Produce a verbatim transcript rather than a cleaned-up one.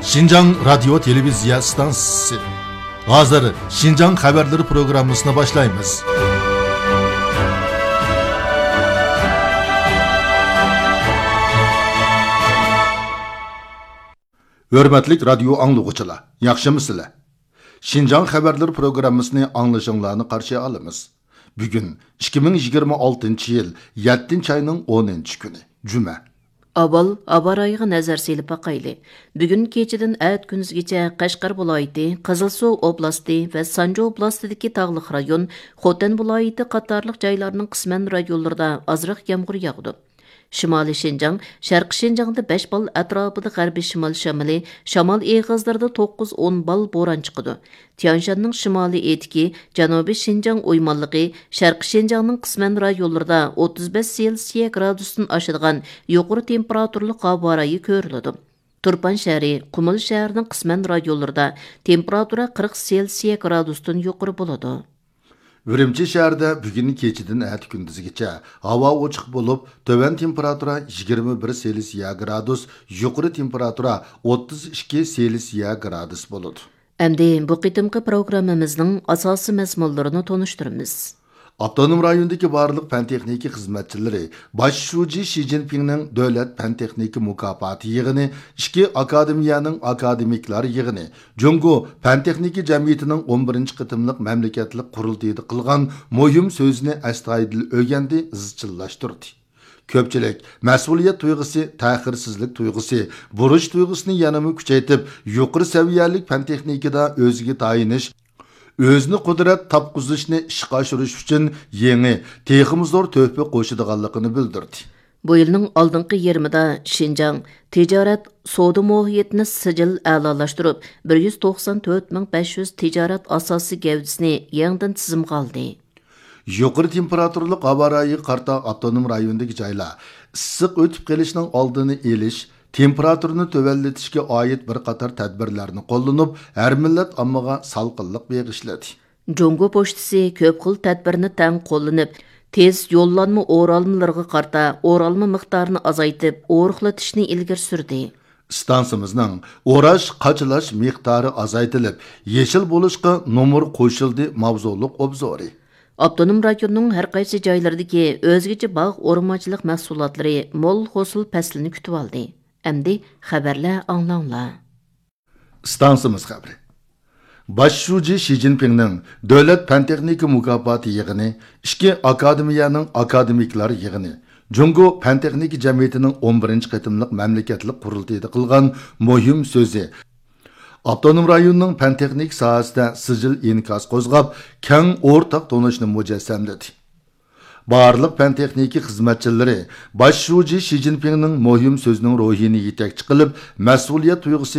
شىنجاڭ رادىيو تېلېۋىزىيە ئىستانسىسى. ھازىر شىنجاڭ خەۋەرلىرى پروگراممىسىنى باشلايمىز. ھۆرمەتلىك رادىيو ئاڭلىغۇچىلار، ياخشىمۇسىلەر؟ شىنجاڭ خەۋەرلىرى پروگراممىسىنى ئاڭلىشىڭلارنى قارشى ئالىمىز. بۈگۈن ئىككى مىڭ يىگىرمە ئالتىنچى يىل يەتتىنچى ئاينىڭ ئونىنچى كۈنى، جۈمە. ئاۋۋال ھاۋا رايىغا نەزەر سېلىپ باقايلى. بۈگۈن كېچىدىن ئەتە كۈندۈزگىچە قەشقەر ۋىلايىتى، قىزىلسۇ ئوبلاستى ۋە سانجى ئوبلاستىدىكى تاغلىق رايون، خوتەن ۋىلايىتى قاتارلىق جايلارنىڭ قىسمەن رايونلىرىدا ئازراق يامغۇر ياغىدۇ. شىمالىي شىنجاڭ، شەرقىي شىنجاڭدا بەش بال ئەتراپىدا غەربىي شىمال شامىلى، شامال ئېغىزلىرىدا توققۇز ئون بال بوران چىقىدۇ. تيەنشاننىڭ شىمالىي ئېتىكى، جەنۇبىي شىنجاڭ ئويمانلىقى، شەرقىي شىنجاڭنىڭ قىسمەن رايونلىرىدا ئوتتۇز بەش سېلسىيە گرادۇستىن ئاشىدىغان يۇقىرى تېمپېراتۇرىلىق ھاۋا رايى كۆرۈلىدۇ. تۇرپان شەھىرى، قۇمۇل شەھىرىنىڭ قىسمەن رايونلىرىدا تېمپېراتۇرا قىرىق سېلسىيە گرادۇستىن يۇقىرى بولىدۇ. ئۈرۈمچى شەھىرىدە بۈگۈن كېچىدىن ئەتە كۈندۈزگىچە ھاۋا ئوچۇق بولۇپ، تۆۋەن تېمپېراتۇرا يىگىرمە بىر سېلسىيە گرادۇس، يۇقىرى تېمپېراتۇرا ئوتتۇز ئىككى سېلسىيە گرادۇس بولىدۇ. ئەمدى بۇ قېتىمقى پروگراممىمىزنىڭ ئاساسىي مەزمۇنلىرىنى تونۇشتۇرىمىز. ئاپتونوم رايوندىكى بارلىق پەن تېخنىكا خىزمەتچىلىرى باش شۇجى شى جىنپىڭنىڭ دۆلەت پەن تېخنىكا مۇكاپاتى يىغىنى، ئىككى ئاكادېمىيەنىڭ ئاكادېمىكلار يىغىنى، جۇڭگو پەن تېخنىكا جەمئىيىتىنىڭ ئون بىرىنچى قېتىملىق مەملىكەتلىك قۇرۇلتىيىدا قىلغان مۇھىم سۆزىنى ئەستايىدىل ئۆگەندى، ئىزچىللاشتۇردى. كۆپچىلىك مەسئۇلىيەت تۇيغۇسى، تەخىرسىزلىك تۇيغۇسى، بۇرچ تۇيغۇسىنى يەنىمۇ كۈچەيتىپ، يۇقىرى سەۋىيەلىك پەن تېخنىكىدا ئۆزىگە تايىنىش، ئۆزىنى قۇدرەت تاپقۇزۇشنى ئىشقا ئاشۇرۇش ئۈچۈن يېڭى، تېخىمۇ زور تۆھپە قوشىدىغانلىقىنى بىلدۈردى. بۇ يىلنىڭ ئالدىنقى يېرىمىدا شىنجاڭ تىجارەت سودا مۇھىتىنى سىجىل ئەلالاشتۇرۇپ، بىر يۈز توقسان تۆت مىڭ بەش يۈز تىجارەت ئاساسىي گەۋدىسىنى يېڭىدىن تىزىمغا ئالدى. يۇقىرى تېمپېراتۇرىلىق ھاۋا رايىغا قارىتا ئاپتونوم رايوندىكى جايلار ئىسسىق ئۆتۈپ قېلىشنىڭ ئالدىنى ئېلىش، تېمپېراتۇرىنى تۆۋەنلىتىشكە ئائىت بىر قاتار تەدبىرلەرنى قوللىنىپ، ھەر مىللەت ئاممىغا سالقىنلىق بېغىشلىدى. جۇڭگو پوچتىسى كۆپ خىل تەدبىرنى تەڭ قوللىنىپ، تېز يوللانما ئورالمىلىرىغا قارىتا ئورالما مىقدارىنى ئازايتىپ، ئورۇقلىتىشنى ئىلگىرى سۈردى. ئىستانسىمىزنىڭ ئوراش، قاچىلاش مىقدارى ئازايتىلىپ، يېشىل بولۇشقا نومۇر قوشۇلدى ماۋزۇلۇق ئوبزورى. ئاپتونوم رايوننىڭ ھەر قايسى جايلىرىدىكى ئۆزگىچە باغ ئورمانچىلىق مەھسۇلاتلىرى مول ھوسۇل پەسلىنى كۈتۈۋالدى. ئەمدى خەۋەرلەر ئاڭلاڭلار. ئىستانسىمىز خەۋىرى. باش شۇجى شى جىنپىڭنىڭ دۆلەت پەن تېخنىكا مۇكاپاتى يىغىنى، ئىككى ئاكادېمىيەنىڭ ئاكادېمىكلار يىغىنى، جۇڭگو پەن تېخنىكا جەمئىيىتىنىڭ ئون بىرىنچى قېتىملىق مەملىكەتلىك قۇرۇلتىيىدا قىلغان مۇھىم سۆزى ئاپتونوم رايوننىڭ پەن تېخنىكا ساھەسىدە سىجىل ئىنكاس قوزغاپ، كەڭ ئورتاق تونۇشنى مۇجەسسەملىدى. بارلىق پەن تېخنىكا خىزمەتچىلىرى باش شۇجى شى جىنپىڭنىڭ مۇھىم سۆزىنىڭ روھىنى يېتەكچى قىلىپ، مەسئۇلىيەت تۇيغۇسى